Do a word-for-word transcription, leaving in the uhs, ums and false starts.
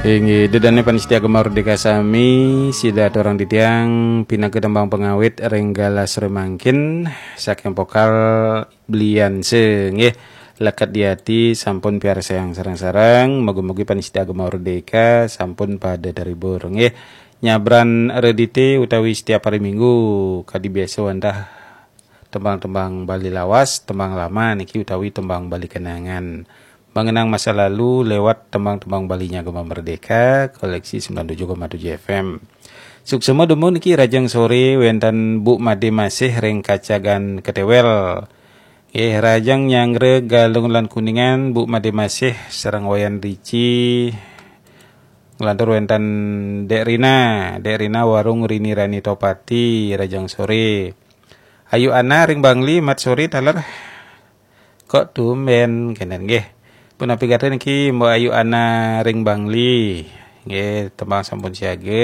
Inggih, dedane panitia Gema Merdeka sami, sida aturang titiang pinaka tembang pengawit ring galah sore mangkin, saking vokal Blianse, nggih. Leket di ati sampun piarsayang sareng-sareng, mugi-mugi panitia Gema Merdeka sampun pada terhibur, nggih. Nyabran redite utawi setiap hari Minggu, kadi biasa wantah tembang-tembang Bali lawas, tembang lama niki utawi tembang Bali kenangan. Mengenang masa lalu lewat tembang-tembang Balinya Gema Merdeka, koleksi sembilan tujuh koma tujuh F M. Suksma dumun niki, rahajeng sore wenten Bu Made Masih ring Kacagan Ketewel. Nggih, rahajeng nyanggra Galung lan Kuningan, Bu Made Masih sareng Wayan Rici. Nglantur wenten Dek Rina, Dek Rina warung Rini Rani Topati, rahajeng sore. Ayu Ana ring Bangli, mat sore taler. Kok tumben kenten nggih. Punapi gatra niki Mbok Ayu Ana ring Bangli. Nggih, tembang sampun siaga.